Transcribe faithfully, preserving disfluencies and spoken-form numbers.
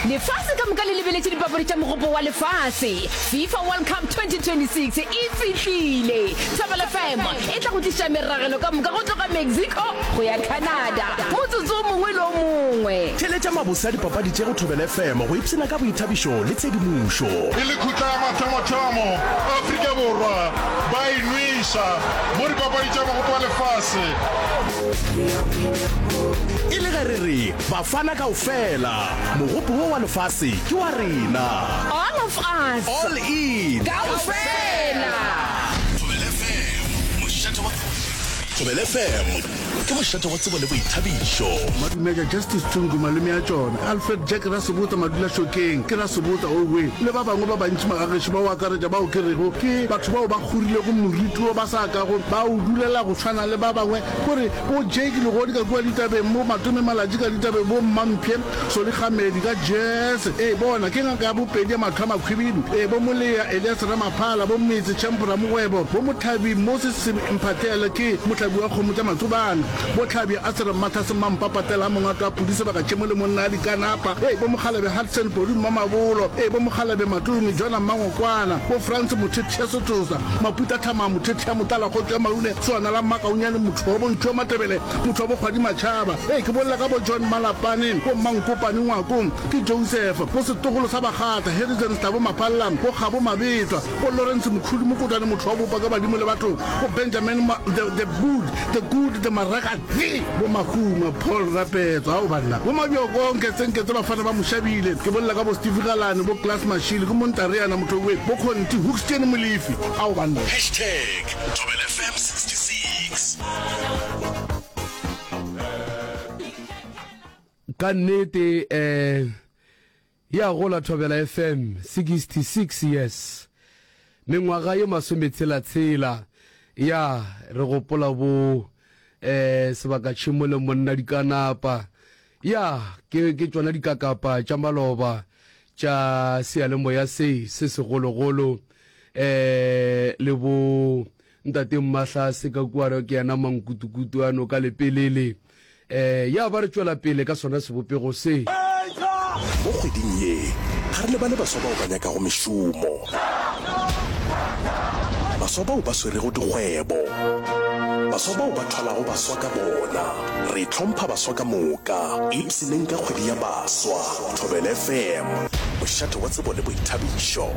Lefase ka moka le lebeletše dipapadi tša Mogopo wa Lefase. FIFA World Cup twenty twenty six e fihlile. Thobela F M e tla go tliša meragelo ka moka go tloga Mexico go ya Canada motsotso o mongwe le o mongwe. Theeletša mabose a dipapadi tše go Thobela F M go ipshina ka boithabišo le tshedimošo. E le khutla ya mathomothomo, Afrika Borwa ba e nweša mo dipapadi tša Mogopo wa Lefase. E le ge re re Bafana kaofela, mogopo wo wa lefase ke wa rena. All of us. All in. Kaofela. Thobela F M, mošate wa Thobela F M ke mošate wa tsebo le boithabišo. Madumeja Justice Tsungu malome a tšona, Alfred Jack Rasebotsa Madula Šokeng ke Rasebotsa owe le ba bangwe ba bantši magagešo ba o akaretša bao ke rego ke batho bao ba kgorilego moriti wo ba sa kago ba o dulela go tshwana le ba bangwe kore bo Jake Legodi ka kua ditabeng bo Matome Malatji ka ditabeng bo Mmamphe Solikgamedi ka Jazz ee bona ke ngaka ya bopedi ya mahlo a makhwibidu ee bo Molea Elias Ramaphala bo Metse Champ Ramogwebo bo Mothabi Moses Mphahlele ke mohlabi wa kgomo tša Matsobane bo Tlhabja Asere Mmatlhase Mmampa Patela Mongato a Pudi Sebaka Tšhemo le monna a Dikanapa ee bo Mokgalabje Hudson Podi Mmamabolo ee bo Mokgalabje Matome Jona Mmangokwana bo Frans Mothethe Setosa Maputa Thama Mothethe ya Motala Kgotso ya Maune Swana la Mmakaunyane motho wa Bontšhu wa Matebele motho wa Bokgwadi Matšhaba ee ke bolela ka bo John Malapane bo Mmankopane Ngwako ke Joseph bo setogolo sa Bakgatla Harrison Stabo Mapalla bo Kgabo Mabetwa bo Lawrence Mkhulu Mokotwane motho wa bopa ka badimo le batho bo Benjamin Ma, the, the good the good the Maraka bo Mahuma Paul Rapetso ao banna bo Mabjoko Nketsenketse bafana ba Moshabile ke bolela ka bo Steve Galane bo Class Mashile ke Montareana motho we bo Conti Hookstein Molefi ao banna. Hashtag Thobela F M sixty-six. Ka nnete um ya gola Thobela F M sixty-six years, mengwaga ye masometshela-tshela ya re gopola bo eh sebaka tšhemo le monna dikanapa ya ke ke tšona dikakapa tša maloba tša seyalemoya se se segologolo eh le bo ntate Mmahlase ka kua re ke yena mankutukutu ano ka lepelele eh ya ba re tšwela pele ka sona sebopego se. Mo kgweding ye, ga re lebale baswa bao ba nyakago mešomo, baswa bao ba swerego dikgwebo, baswa bao ba thwalago baswa ka bona. Re hlompha baswa ka moka. Ipshineng ka kgwedi ya baswa. Thobela F M, mošate wa tsebo le boithabišo.